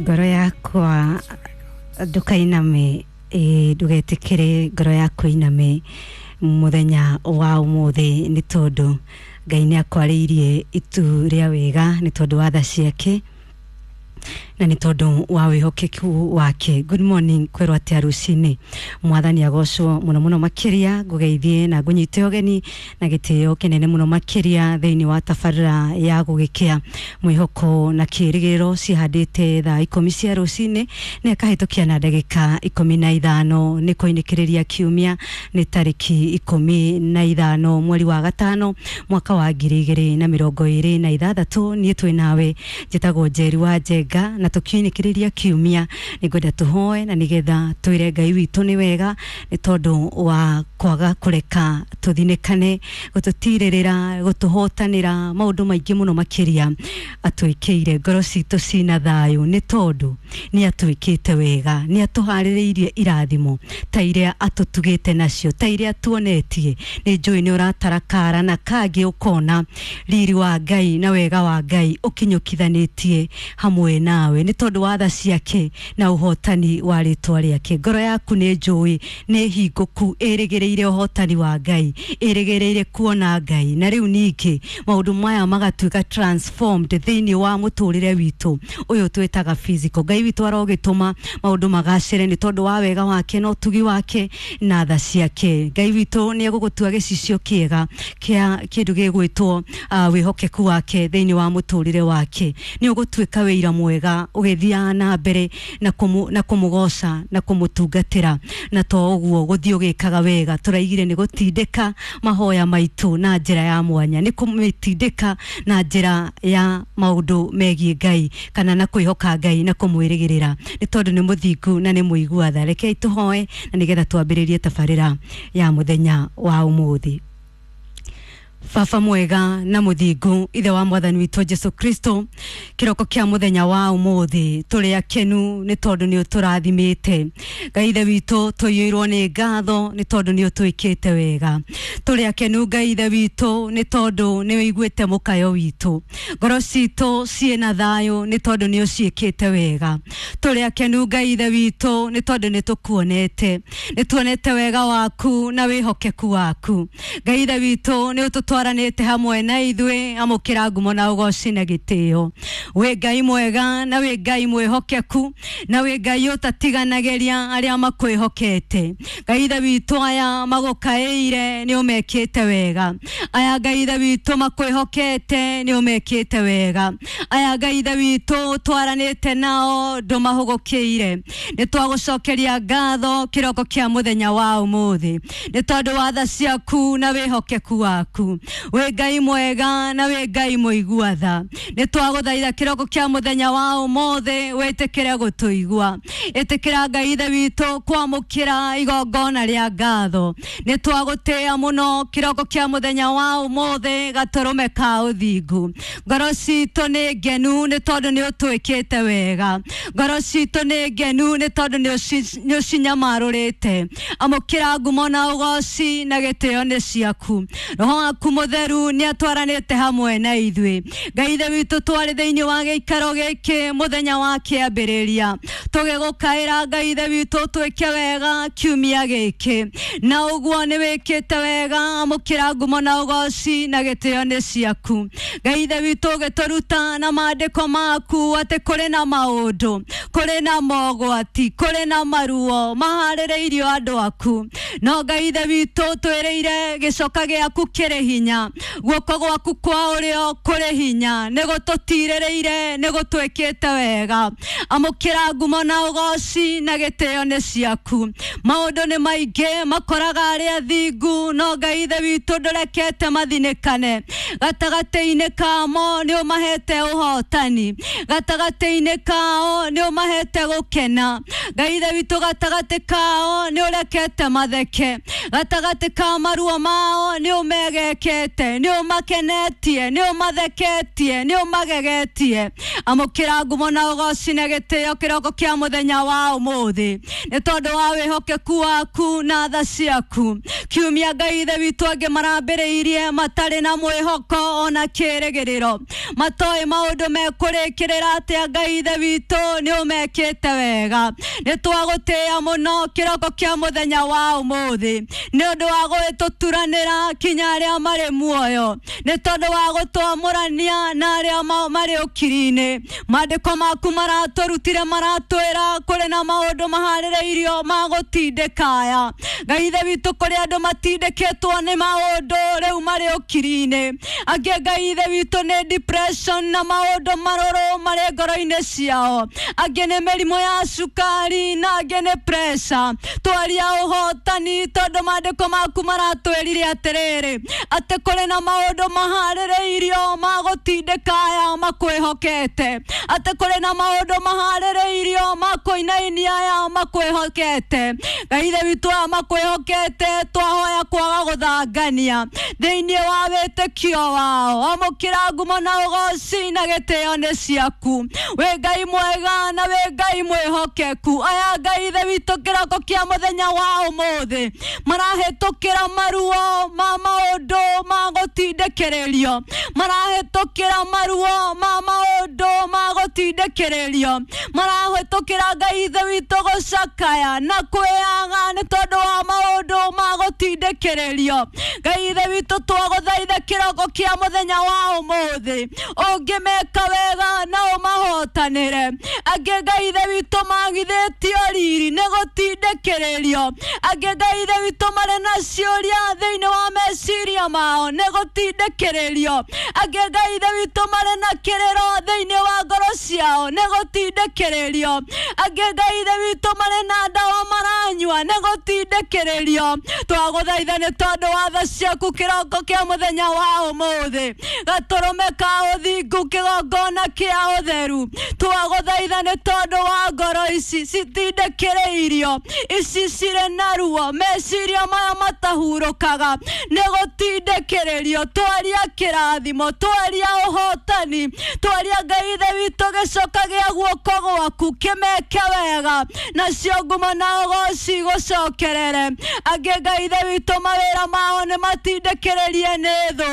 Ngoro yakwa ndukainame, ĩ ndugetikire ngoro yaku iname muthenya wa umuthi, ni tondu Ngai nĩ akwarĩirie itu rĩa wega, nĩ tondũ wa tha ciake na nĩ tondũ wa wĩhokeku wake. Good morning, kwĩrwo atĩa rũcinĩ? Mwathani agocwo mũno mũno makĩria. Ngũgeithie na ngũnyite ũgeni na gĩtĩo kĩnene mũno makĩria thĩinĩ wa tabarĩra ya gũgĩkĩa mwĩhoko na kĩrĩgĩrĩro. Cihandĩte thaa 10 cia rũcinĩ na ĩkahĩtũkia na ndagĩka 15. Nĩ kũinĩkĩrĩria kiumia, nĩ tarĩki 15 mweri wa gatano mwaka wa 2026. Niĩ twĩ nawe, njĩtagwo Njeri wa Njenga, na tũkiinĩkĩrĩria kiumia nĩ ngwenda tũhoe na nĩgetha twĩre Ngai witũ nĩ wega, nĩ tondũ wa kwaga kũreka tũthinĩkane, gũtũtirĩrĩra, gũtũhotanĩra maũndũ maingĩ mũno makĩria atwĩkĩire. Ngoro citũ cina thayũ nĩ tondũ nĩ atwĩkĩte wega, nĩ atũharĩrĩirie irathimo ta iria atũtugĩte nacio, ta iria tuonetie. Nĩ njũĩ nĩ ũratara kara na kangĩ ũkona riri wa Ngai na wega wa Ngai ũkinyũkithanĩtie hamwe nawe, nĩ tondũ wa tha ciake na ũhotani wa rĩtwa rĩake. Ngoro yaku nĩ njũĩ nĩ hingũku, ĩrĩgĩrĩire ũhotani wa Ngai, ĩrĩgĩrĩire kuona Ngai. Na rĩu ningĩ maũndũ maya magatuĩka transformed thĩinĩ wa mũtũrĩre witũ ũyũ twĩtaga physical. Ngai witũ arogĩtũma maũndũ magacĩre nĩ tondũ wa wega wake na ũtugi wake na tha ciake. Ngai witũ nĩ egũgũtua gĩcicio kĩega kĩa kĩndũ gĩgwĩtwo wĩhokeku wake thĩinĩ wa mũtũrĩre wake. Nĩ ũgũtuĩka wĩira mwega ũgĩthiaga na mbere na kũmũgoca na kũmũtungatĩra, na to ũguo gũthiĩ ũgĩkaga wega. Tũraigire nĩ gũtindĩka mahoya maitũ na njĩra ya mwanya, nĩ kũmĩtindĩka na njĩra ya maũndũ megiĩ Ngai kana na kwĩhoka Ngai na kũmwĩrĩgĩrĩra, nĩ tondũ nĩ mũthingu na nĩ mũigua tha. Rekei tũhoe na nĩgetha twambĩrĩrie tabarĩra ya mũthenya wa ũmũthĩ. Baba mwega na mũthingu, ithe wa mwathani witũ Jesu Kristo, kĩroko kĩa mũthenya wa ũmũthĩ tũrĩ akenu nĩ tondũ nĩ ũtũrathimĩte. Ngai ithe witũ, tũiyũirwo nĩ ngatho nĩ tondũ nĩ ũtwĩkĩte wega. Tũrĩ akenu, Ngai ithe witũ, nĩ tondũ nĩ ũiguĩte mũkayo witũ. Ngoro citũ ciĩna thayũ nĩ tondũ nĩ ũciĩkĩte wega. Tũrĩ akenu, Ngai ithe witũ, nĩ tondũ nĩ tũkuonete, nĩ tuonete wega waku na wĩhokeku waku. Ngai ithe witũ, nĩ ũtũtwaranĩte hamwe na ithuĩ. Amũkĩra ngumo na ũgoci na gĩtĩo. Wĩ Ngai mwega na wĩ Ngai mwĩhokeku na wĩ Ngai ũtatiganagĩria arĩa makwĩhokete. Ngai ithe witũ, aya magũkaĩire nĩ ũmekĩte wega. Aya, Ngai ithe witũ, makwĩhokete nĩ ũmekĩte wega. Aya, Ngai ithe witũ, twaranĩte nao ndũmahũgũkĩire. Nĩ twagũcokeria ngatho kĩroko kĩa mũthenya wa ũmũthĩ nĩ tondũ wa tha ciaku na wĩhokeku waku. Wĩ Ngai mwega na wĩ Ngai mũigua tha. Nĩ twagũthaitha kĩroko kĩa mũthenya wa ũmũthĩ wĩtĩkĩre gũtũigua. Ĩtĩkĩra, Ngai ithe witũ, kwamũkĩra igongona rĩa ngatho. Nĩ twagũtĩĩa mũno kĩroko kĩa mũthenya wa ũmũthĩ, gatũrũme ka ũthingu. Ngoro citũ nĩ ngenu nĩ tondũ nĩ ũtwĩkĩte wega. Ngoro citũ nĩ ngenu nĩ tondũ nĩ ũcinyamarũrĩte. Amũkĩra ngumo na ũgoci na gĩtĩo nĩ ciaku. Roho waku mũtheru nĩ atwaranĩte hamwe na ithuĩ. Ngai ithe witũ, twarĩ thĩinĩ wa gĩikaro gĩkĩ mũthenya wa kĩambĩrĩria tũgĩgũkaĩra, Ngai ithe witũ, twĩke wega kiumia gĩkĩ, na ũguo nĩ wĩkĩte wega. Amũkĩra ngumo na ũgoci na gĩtĩo nĩ ciaku. Ngai ithe witũ, ũgĩtũruta na maandĩko maku atĩ kũrĩ na maũndũ, kũrĩ na mogwati, kũrĩ na maruo maharĩrĩirio andũ aku, no Ngai ithe witũ, twĩrĩire gĩcoka gĩaku kĩrĩ hinya, guoko gwaku kwa ũrĩo kũrĩ hinya, nĩ gũtũtirĩrĩire, nĩ gũtwĩkĩte wega. Amũkĩra ngumo na ũgoci na gĩtĩo nĩ ciaku. Maũndũ nĩ maingĩ makoraga arĩa thingu, no Ngai ithe witũ, ndũrekete mathinĩkane. Gatagatĩ-inĩ kamo nĩ ũmahete ũhotani, gatagatĩ-inĩ kao nĩ ũmahete gũkena. Ngai ithe witũ, gatagatĩ kao nĩ ũrekete matheke, gatagatĩ ka maruo mao nĩ ũmegekĩte. ũmekĩte, nĩ ũmakenetie, nĩ ũmatheketie, nĩ ũmagegetie. Amũkĩra ngumo na ũgoci na gĩtĩo kĩroko kĩa mũthenya wa ũmũthĩ, nĩ tondũ wa wĩhokeku waku na tha ciaku. Kiumia Ngai ithe witũ angĩ marambĩrĩirie matarĩ na mwĩhoko ona kĩrĩgĩrĩro, matoĩ maũndũ mekũrĩkĩrĩra atĩa. Ngai ithe witũ nĩ ũmekĩte wega, nĩ twagũtĩĩa mũno kĩroko kĩa mũthenya wa ũmũthĩ, nĩ ũndũ wa gũgĩtũturanĩra kinya arĩa marĩ muoyo, nĩ tondũ wa gũtwamũrania na arĩa marĩ ũkiri-inĩ. Maandĩko maku maratũrutire, maratwĩra kũrĩ na maũndũ maharĩrĩirio ma gũtindĩka aya. Ngai ithe witũ, kũrĩ andũ matindĩkĩtwo nĩ maũndũ rĩu marĩ ũkiri-inĩ, angĩ Ngai ithe witũ nĩ depression na maũndũ marũrũ marĩ ngoro-inĩ ciao, angĩ nĩ mĩrimũ ya cukari na angĩ nĩ pressure. Twaria ũhotani tondũ maandĩko maku maratwĩrire atĩrĩrĩ, atĩ kũrĩ na maũndũ maharĩrĩirio ma gũtindĩka aya makwĩhokete, atĩ kũrĩ na maũndũ maharĩrĩirio ma kũinainia aya makwĩhokete. Ngai ithe witũ, aya makwĩhokete twahoya kwaga gũthangania thĩinĩ wa wĩtĩkio wao. Amũkĩra ngumo na ũgoci na gĩtĩo nĩ ciaku. Wĩ Ngai mwega na wĩ Ngai mwĩhokeku. Aya Ngai ithe witũ kĩroko kĩa mũthenya wa ũmũthĩ marahĩtũkĩra maruo ma maũndũ ma gũtindĩkĩrĩrio, marahĩtũkĩra maruo ma maũndũ ma gũtindĩkĩrĩrio, marahĩtũkĩra Ngai ithe witũ gũcakaya na kwĩyaga nĩ tondũ wa maũndũ ma gũtindĩkĩrĩrio. Ngai ithe witũ, twagũthaitha kĩroko kĩa mũthenya wa ũmũthĩ, ũngĩmeka wega na ũmahotanĩre. Angĩ Ngai ithe witũ magithĩtio riri nĩ gũtindĩkĩrĩrio, angĩ Ngai ithe witũ marĩ na ciũria thĩinĩ wa meciria mao nĩ gũtindĩkĩrĩrio, angĩ Ngai ithe witũ marĩ na kĩrĩro thĩinĩ wa ngoro ciao nĩ gũtindĩkĩrĩrio, angĩ Ngai ithe witũ marĩ na ndawa maranyua nĩ gũtindĩkĩrĩrio. Twagũthaitha nĩ tondũ wa tha ciaku kĩroko kĩa mũthenya wa ũmũthĩ, gatũrũme ka ũthingu, kĩgongona kĩa ũtheru. Twagũthaitha nĩ tondũ wa ngoro ici citindĩkĩrĩirio, ici cirĩ na ruo, meciria maya matahurũkaga nĩ gũtindĩkĩrĩrio. Twaria kĩrathimo, twaria ũhotani, twaria Ngai ithe witũ gĩcoka gĩa guoko gwaku kĩmeke wega, nacio ngumo na ũgoci gũcokerere. Angĩ Ngai ithe witũ mawĩra mao nĩ matindĩkĩrĩrie nĩ thũ,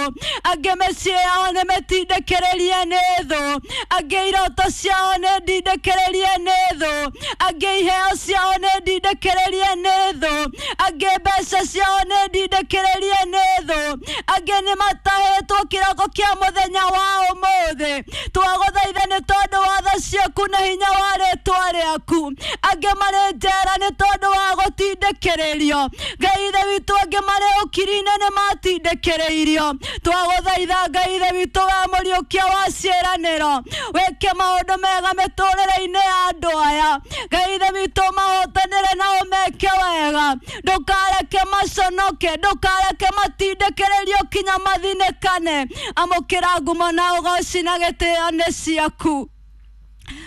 angĩ mĩciĩ yao nĩ mĩtindĩkĩrĩrie nĩ thũ, angĩ iroto ciao nĩ ndindĩkĩrĩrie nĩ thũ, angĩ iheo ciao nĩ ndindĩkĩrĩrie nĩ thũ, angĩ mbeca ciao nĩ ndindĩkĩrĩrie nĩ thũ, angĩ nĩ matahĩtwo kĩroko kĩa mũthenya wa ũmũthĩ. Twagũthaitha nĩ tondũ wa tha ciaku na hinya wa rĩtwa rĩaku. Angĩ marĩ njera nĩ tondũ wa gũtindĩkĩrĩrio. Ngai ithe witũ, angĩ marĩ ũkiri-inĩ nĩ matindĩkĩrĩirio. Twagũthaitha Ngai ithe witũ wa mũriũkia wa ciĩranĩro, wĩke maũndũ mega mĩtũrĩre-inĩ ya andũ aya. Ngai ithe witũ, mahotanĩre na ũmeke wega, ndũkareke maconoke, ndũkareke matindĩkĩrĩrio kinya mathinĩkane. Amũkĩra ngumo na ũgoci na gĩtĩo nĩ ciaku.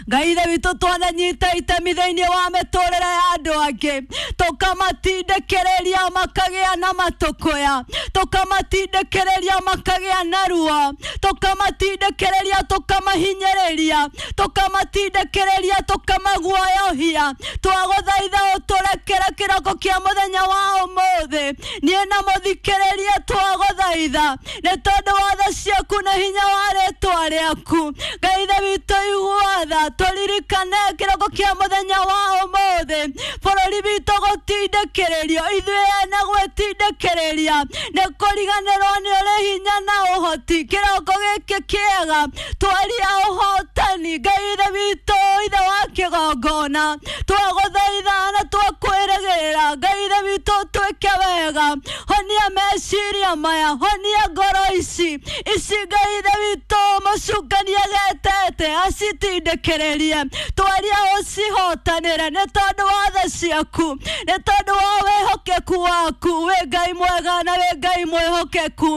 Ngai ithe witũ, twananyita itemi thĩinĩ wa mĩtũrĩre ya andũ angĩ, tũkamatindĩkĩrĩria makagĩa na matũkũya, tũkamatindĩkĩrĩria makagĩa na ruo, tũkamatindĩkĩrĩria tũkamahinyĩrĩria, tũkamatindĩkĩrĩria tũkamaguoyohia. Twagũthaitha ũtũrekere kĩroko kĩa mũthenya wa ũmũthĩ. Niĩ na mũthikĩrĩria twagũthaitha nĩ tondũ wa tha ciaku na hinya wa rĩtwa rĩaku. Ngai ithe witũ, igua tha, tũririkane kĩroko kĩa mũthenya wa ũmũthĩ, bũrũri witũ gũtindĩkĩrĩrio, ithuĩ ene gwĩtindĩkĩrĩria nĩ kũriganĩrwo nĩ ũrĩ hinya na ũhoti. Kĩroko gĩkĩ kĩega twaria ũhotani. Ngai ithe witũ, ithe wa kĩgongona, twagũthaitha na twakwĩrĩgĩrĩra. Ngai ithe witũ, twĩke wega, honia meciria maya, honia ngoro ici. ici ici Ngai ithe witũ mũcukani agetete acitindĩkĩrĩrie twaria ũcihotanĩre nĩ tondũ wa tha ciaku nĩ tondũ wa wĩhokeku waku wĩ Ngai mwega na wĩ Ngai mwĩhokeku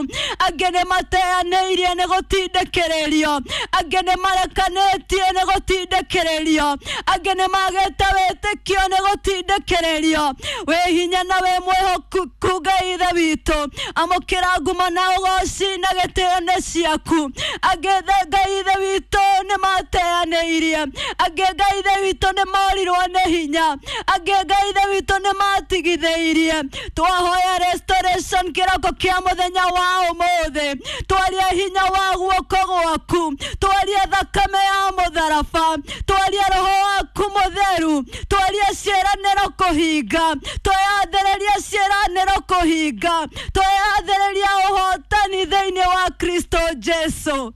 angĩ nĩ mateanĩirie nĩ gũtindĩkĩrĩrio angĩ nĩ marekanĩtie nĩ gũtindĩkĩrĩrio angĩ nĩ magĩte wĩtĩkio nĩ gũtindĩkĩrĩrio wĩ hinya na wĩ mwĩhokeku Ngai ithe witũ amũkĩra ngumo na ũgoci na gĩtĩo nĩ ciaku angĩ Ngai ithe witũ nĩ mateanĩirie angĩ Ngai ithe witũ nĩ morirwo nĩ hinya angĩ Ngai ithe witũ nĩ matigithĩirie twahoya restoration kĩroko kĩa mũthenya wa ũmũthĩ twaria hinya wa guoko gwaku twaria thakame ya mũtharaba twaria roho waku mũtheru twaria ciĩranĩro kũhinga twayathĩrĩria ciĩranĩro kũhinga twayathĩrĩria ũhotani thĩinĩ wa Kristo Jesu.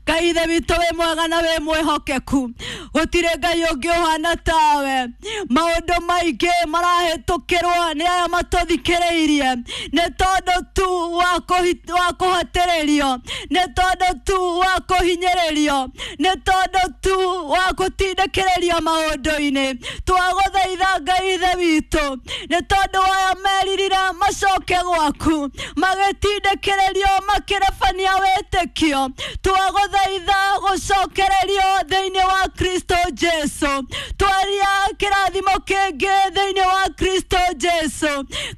Ngai ithe witũ wĩ mwega na wĩ mwĩhokeku gũtirĩ Ngai ũngĩ ũhana tawe maũndũ maingĩ marahĩtũkĩrwo nĩ aya matũthikĩrĩirie nĩ tondũ tu wa kũhatĩrĩrio nĩ tondũ tu wa kũhinyĩrĩrio nĩ tondũ tu wa gũtindĩkĩrĩrio maũndũ-inĩ twagũthaitha Ngai ithe witũ nĩ tondũ aya meririre macoke gwaku magĩtindĩkĩrĩrio makĩrebania wĩtĩkio twagũthaitha gũcokererio thĩinĩ wa Kristo Jesu twaria kĩrathimo kĩngĩ thĩinĩ wa Kristo Jesu.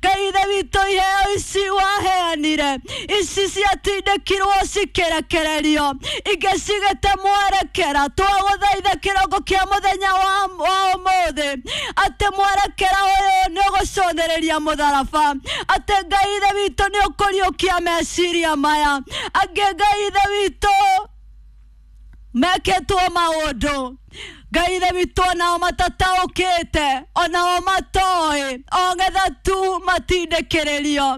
Ngai ithe witũ iheo ici waheanire ici ciatindĩkirwo cikĩrekererio ingĩ cigĩte mwerekera twagũthaitha kĩroko kĩa mũthenya wa ũmũthĩ atĩ mwerekera ũyũ nĩ ũgũcũthĩrĩria mũtharaba atĩ Ngai ithe witũ nĩ ũkũriũkia meciria maya angĩ Ngai ithe witũ mekĩtwo maũndũ Ngai ithe witũ onao matataũkĩte onao matoĩ o getha tu matindĩkĩrĩrio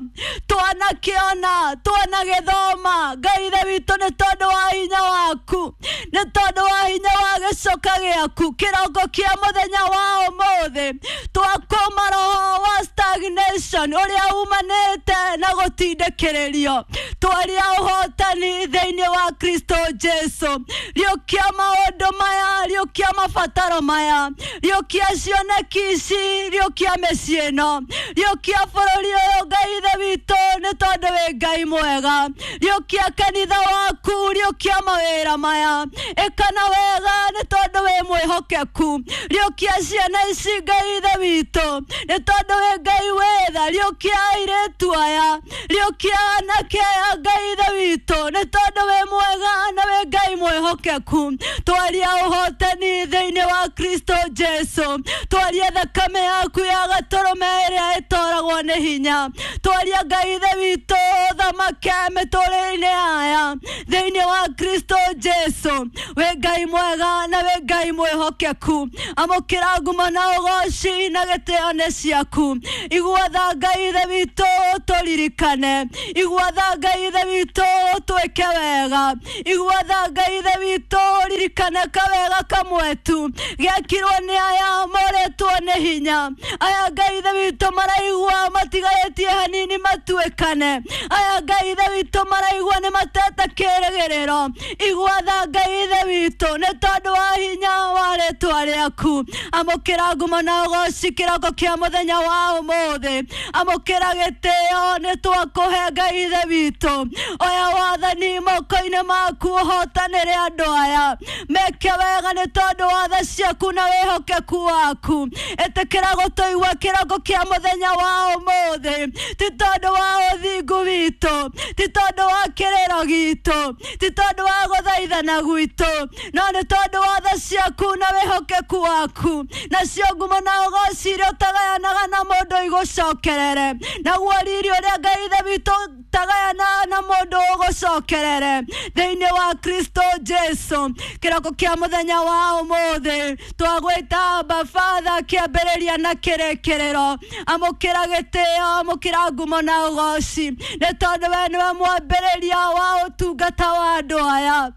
twanakĩona twanagĩthoma Ngai ithe witũ nĩ tondũ wa hinya waku nĩ tondũ wa hinya wa gĩcoka gĩaku kĩroko kĩa mũthenya wa ũmũthĩ twakũma roho wa stagnation ũrĩa umanĩte na gũtindĩkĩrĩrio twaria ũhotani thĩinĩ wa Kristo Jesu riũkia maũndũ maya riũkia mabataro maya riũkia cioneki ici riũkia mĩciĩ ĩno riũkia bũrũri ũyũ Ngai ithe witũ nĩ tondũ wĩ Ngai mwega riũkia kanitha waku riũkia mawĩra maya ĩkana wega nĩ tondũ wĩ mwĩhokeku riũkia ciana ici Ngai ithe witũ nĩ tondũ wĩ Ngai wĩtha riũkia airĩtu aya riũkia anake aya Ngai ithe witũ nĩ tondũ wĩ mwega na wĩ Ngai mwĩhokeku twaria ũhotani thĩinĩ wa Kristo Jesu twaria thakame yaku ya gatũrũme ĩrĩa ĩtoragwo nĩ hinya twaria Ngai ithe witũ thamake mĩtũrĩre-inĩ aya thĩinĩ wa Kristo Jesu wĩ Ngai mwega na wĩ Ngai mwĩhokeku amũkĩra ngumo na ũgoci na gĩtĩo nĩ ciaku igua tha Ngai ithe witũ tũririkane igua tha Ngai ithe witũ twĩke wega igua tha Ngai ithe witũ ririkane kawega kamwe tu gĩakirwo nĩ aya morĩtwo nĩ hinya aya Ngai ithe witũ maraigua matigarĩtie hanini matuĩkane aya Ngai ithe witũ maraigua nĩ matete kĩrĩgĩrĩro igua tha Ngai ithe witũ nĩ tondũ wa hinya wa rĩtwa rĩaku amũkĩra ngumo na ũgoci kĩroko kĩa mũthenya wa ũmũthĩ amũkĩra gĩtĩo nĩ twakũhe Ngai ithe witũ oya wathani moko-inĩ maku ũhotanĩre andũ aya meke wega nĩ tondũ wa tha ciaku na wĩhokeku waku ĩtĩkĩra gũtũigua kĩroko kĩa mũthenya wa ũmũthĩ ti tondũ wa ũthingu witũ ti tondũ wa kĩrĩro gitũ ti tondũ wa gũthaithana gwitũ no nĩ tondũ wa tha ciaku na wĩhokeku waku nacio ngumo na ũgoci iria ũtagayanaga na mũndũ igũcokerere naguo riri ũrĩa Ngai ithe witũ ũtagayanaga na mũndũ ũgũcokerere thĩinĩ wa Kristo Jesu kĩroko kĩa mũthenya wa ũmũthĩ twagwĩta Abba Father kĩambĩrĩria na kĩrĩkĩrĩro amũkĩra gĩtĩo amũkĩra ngumo na ũgoci nĩ tondũ we nĩwe mwambĩrĩria wa ũtungata wa andũ aya.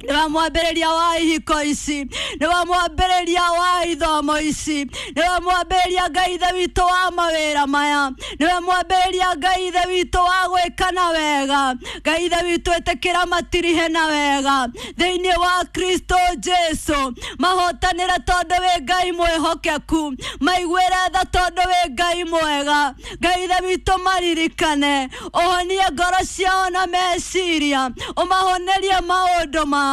Nĩwe mwambĩrĩria wa ihiko ici, nĩwe mwambĩrĩria wa ithomo ici, nĩwe mwambĩrĩria Ngai Ithe witũ wa mawĩra maya, nĩwe mwambĩrĩria Ngai Ithe witũ wa gwĩka na wega. Ngai Ithe witũ, ĩtĩkĩra matirihe na wega thĩinĩ wa Kristo Jesu. Mahotanĩre tondũ wĩ Ngai mwĩhokeku, maiguĩre tha tondũ wĩ Ngai mwega. Ngai Ithe witũ, maririkane, ũhonie ngoro ciao na meciria, ũmahonerie maũndũ mao,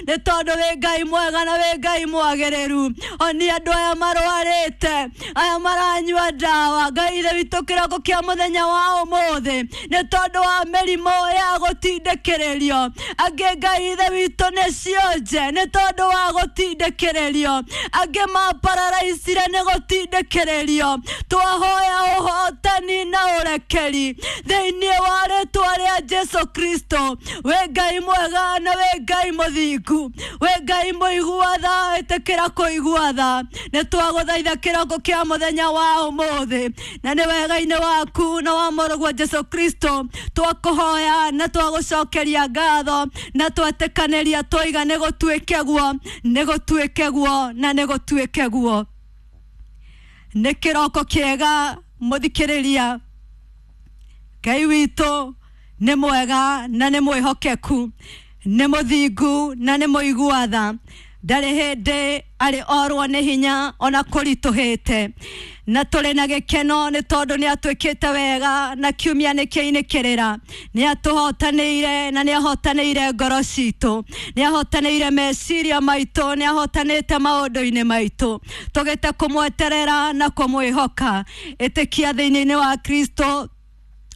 nĩ tondũ wĩ Ngai mwega na wĩ Ngai mwagĩrĩru. Honia andũ aya marwarĩte, aya maranyua ndawa, Ngai Ithe witũ, kĩroko kĩa mũthenya wa ũmũthĩ, nĩ tondũ wa mĩrimũ ya gũtindĩkĩrĩrio. Angĩ, Ngai Ithe witũ, nĩ cionje nĩ tondũ wa gũtindĩkĩrĩrio, angĩ mapararaicire nĩ gũtindĩkĩrĩrio. Twahoya ũhotani na ũrekeri thĩinĩ wa rĩtwa rĩa Jesu Kristo. Wĩ Ngai mwega na wĩ Ngai mũthingu, wĩ Ngai mũigua tha, ĩtĩkĩra kũigua tha. Nĩ twagũthaitha kĩroko kĩa mũthenya wa ũmũthĩ, na nĩ wega-inĩ waku na wa mũrũguo Jesu Kristo twakũhoya na twagũcokeria ngatho na twetĩkanĩria twaiga nĩ gũtuĩke guo, nĩ gũtuĩke guo na nĩ gũtuĩke guo. Nĩ kĩroko kĩega mũthikĩrĩria. Ngai witũ nĩ mwega na nĩ mwĩhokeku, nĩ mũthingu na nĩ mũigua tha. Ndarĩ hĩndĩ arĩ orwo nĩ hinya ona kũritũhĩte, na tũrĩ na gĩkeno nĩ tondũ nĩ atwĩkĩte wega, na kiumia nĩ kĩinĩkĩrĩra. Nĩ atũhotanĩire na nĩ ahotanĩire ngoro citũ, nĩ ahotanĩire meciria maitũ, nĩ ahotanĩte maũndũ-inĩ maitũ. Tũgĩte kũmweterera na kũmwĩhoka. Ĩtĩkia thĩinĩ-inĩ wa Kristo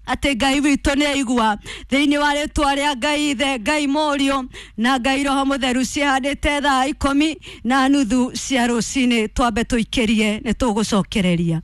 atĩ Ngai witũ nĩ aigua. Thĩinĩ wa rĩtwa rĩa Ngai Ithe, Ngai Mũriũ na Ngai Roho Mũtheru, ciĩhandĩte thaa 10:30 cia rũcinĩ. Twambe tũikĩrie, nĩ tũgũcokereria.